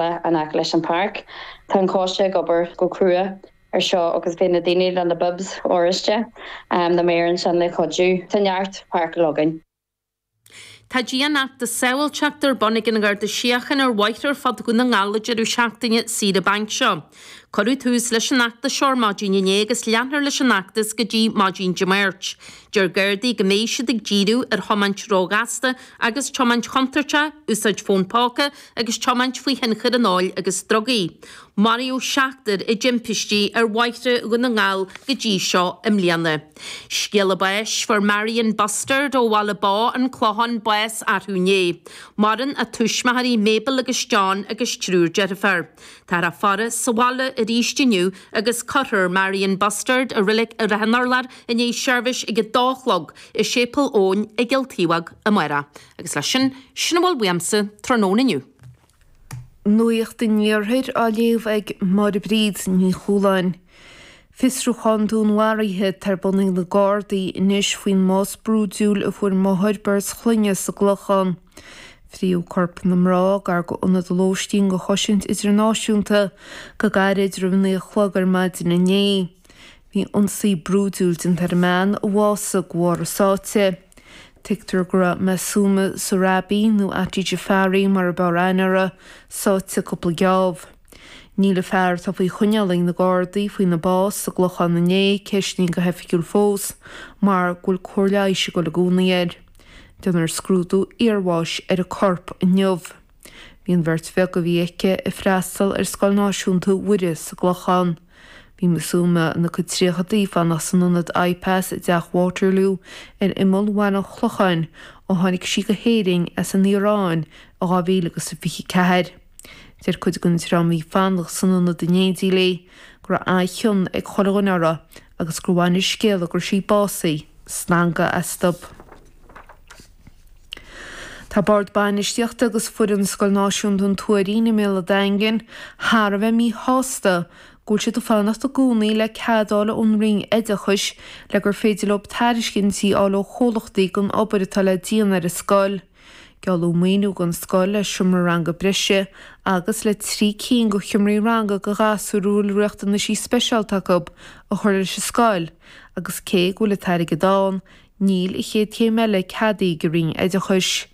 In aice leis an páirc. Tá an coiste ag obair go crua ar seo agus beidh na daoine le na bibs oráiste, na maoir ansin le cuidiú. Tá neart páirceáil againn. Tá dianfheachtas sábháilteachta ar bun ag an nGarda Síochána ar bhóithre ar fud Dhún na nGall an deireadh seachtaine saoire bainc seo. Cuireadh tús leis an fheachtas seo ar maidin inné agus leanfar leis an fheachtas go dtí maidin Dé Máirt. Deir Gardaí go mbeidh siad ag díriú ar thiomáint róghasta agus tiomáint chontúirteach, úsáid fón póca agus tiomáint faoi thionchar an óil agus drugaí. Maraíodh seachtar i dtimpistí ar bhóithre Dhún na nGall go dtí seo i mbliana. Scéala báis, Fuair Marion Bustard ó Bhaile Bó, An Clochán, bás arú inné. Maireann a tuismitheoirí Mabel agus John agus triúr deirfiúr. Táthar á faire sa bhaile arís inniu agus cuirfear Marion Bustard i Reilig Ráth an Urláir i ndiaidh seirbhís ag a dó a chlog i Séipéal Eoin i gCill Taobhóg amárach. Agus leis sin, sin a bhfuil uaimse tráthnóna inniu. Nuacht an Iarthair á léamh ag Máire Bríd Ní Chualáin. Fiosrúchán dúnmharaithe atá ar bun ag na Gardaí anois faoin mbás brúidiúil a fuair máthair beirt chlainne sa gClochán. Fríodh corp na mná gar go ionad lóistín go Chosaint Idirnáisiúnta go gairid roimh a naoi a chlog ar maidin inné. Bhí ionsaí brúidiúil déanta ar an mbean a bhásaigh de bharr a sáite. Tuigtear go raibh Masooma Sohrabi, nó Ati Jafari mar ab fhearr aithne uirthi, sáite cúpla geábh. Níl an fear atá faoi choinneáil ag na Gardaí faoina bás sa gClochán inné ceistnithe go hoifigiúil fós mar go bhfuil cóir leighis ag dul i gcónaí air. Déanfar scrúdú iarbháis ar an corp inniu. Bhí an bheirt bheag a bhí aici ag freastal ar Scoil Náisiúnta Mhuire sa gClochán. Bhí Masooma ina cuid tríochadaí ag fanacht san ionad IPAS i dTeach Waterloo ar imeall Bhaile an Chlocháin ó tháinig sí go hÉirinn as an Iaráin i 2024. Deir cuid den dream a bhí ag fanacht san ionad in éindí léi go raibh an-chion ag chuile dhuine uirthi agus gur bhain an scéala go raibh sí básaithe stangadh astu. Tá Bord Bainistíochta agus foireann Scoil Náisiúnta an Tuairín i mBéal an Daingin thar a bheith míshásta go bhfuil siad ag fanacht i gcónaí le cead a fháil ón Roinn Oideachais le gur féidir leo tairiscintí a fháil ó chomhlachtaí don obair atá le déanamh ar an scoil. Gealladh maoiniú don scoil le seomra ranga breise agus le 3 cinn de sheomraí ranga do ghasúir a bhfuil riachtanaisí speisialta acu a chur leis an scoil agus cé go bhfuil an t-airgead ann, Níl an chéad chéim eile ceadaithe ag an Roinn Oideachais.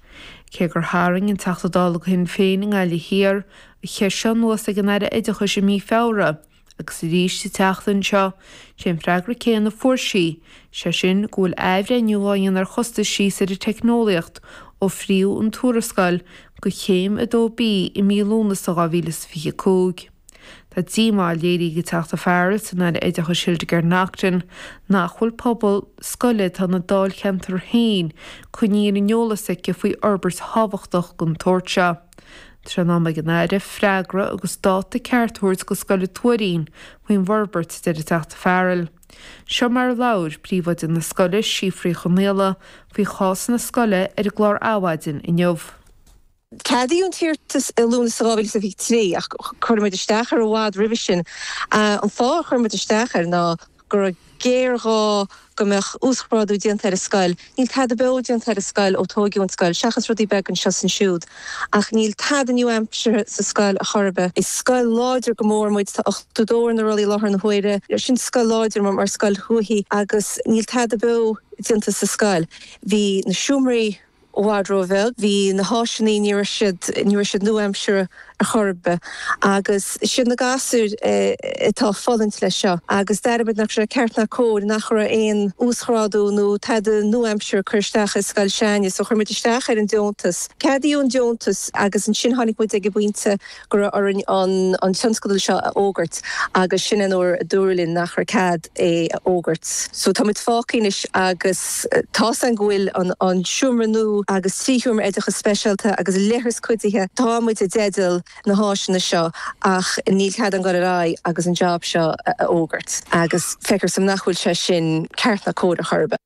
Cé gur tharraing an Teachta Dála do Shinn Féin i nGaillimh Thiar an cheist seo anuas ag an Aire Oideachais i mí Feabhra agus arís an tseachtain seo, sé an freagra céanna a fuair sí, sé sin go bhfuil athbhreithniú á dhéanamh ar chostaisí is ar an teicneolaíocht ó fríodh an tuarascáil do Chéim 2B i mí Lúnasa 2025. Tá díomá léirithe ag an Teachta Farrell san Aire Oideachais Hildegarde Naughton nach bhfuil pobal scoile atá ina dáilcheantar féin coinnithe ar an eolas aici faoi fhorbairt thábhachtach den tsórt seo. Tá sé in am ag an Aire freagra agus dáta ceart a thabhairt do Scoil an Tuairín faoin bhforbairt, a deir an Teachta Farrell. Seo mar a labhair príomhoide na scoile, Síofra Uí Chonaola, faoi chás na scoile ar an gclár Adhmhaidin inniu. Ceadaíodh an t-iarratas i Lúnasa 2023 ach chuir muid isteach air i bhfad roimhe sin. An fáth a chuir muid isteach air ná go raibh géarghá go mbeadh uasghrádú déanta ar an scoil. Níl tada beo déanta ar an scoil ó tóigeadh an scoil, seachas rudaí beaga anseo is ansiúd. Ach níl tada nua-aimseartha sa scoil ar chor ar bith. Is scoil láidir go mór muid, tá 82 ar na rollaí i láthair na huaire. Sin scoil láidir mar scoil thuaithe agus níl tada beo déanta sa scoil. Bhí na seomraí. i bhfad ró-bheag. Bhí na háiseanna, ní raibh siad, ní raibh siad nua-aimseartha ar chor ar bith. Agus siad na gasúir atá ag fulaingt leis seo. Agus d'airigh muid nach raibh sé ceart ná cóir nach raibh aon uasghrádú nó tada nua-aimseartha curtha isteach i scoil s'againne. So chuir muid isteach ar an deontas. Ceadaíodh an deontas agus ansin tháinig muid ag an bpointe go raibh orainn an tionscadal seo a fhógairt agus sin an uair a dúradh linn nach raibh cead é a fhógairt. So tá muid fágtha anois agus tá's againn go bhfuil an seomra nua agus 3 sheomra oideachais speisialta agus leithreas cuidithe, tá muid i dteideal na háiseanna seo ach níl cead againn dul ar aghaidh agus an job seo a fhógairt agus feictear dom nach bhfuil sé sin ceart ná cóir ar chor ar bith.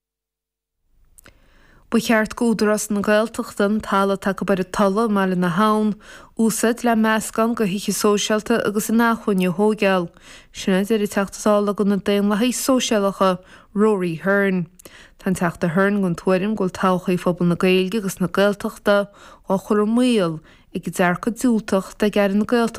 Ba cheart d'Údarás na Gaeltachta an talamh atá acu ar an Tulaigh i mBaile na hAbhann a úsáid le meascán de thithe sóisialta agus inacmhainne a thóigeáil. Sin a deir an Teachta Dála do na Daonlathaithe Sóisialacha, Rory Hearne. Tá an Teachta Hearne den tuairim go bhfuil todhchaí phobal na Gaeilge agus na Gaeltachta á chur i mbaol. ag an dearcadh diúltach atá ag Aire na Gaeltachta.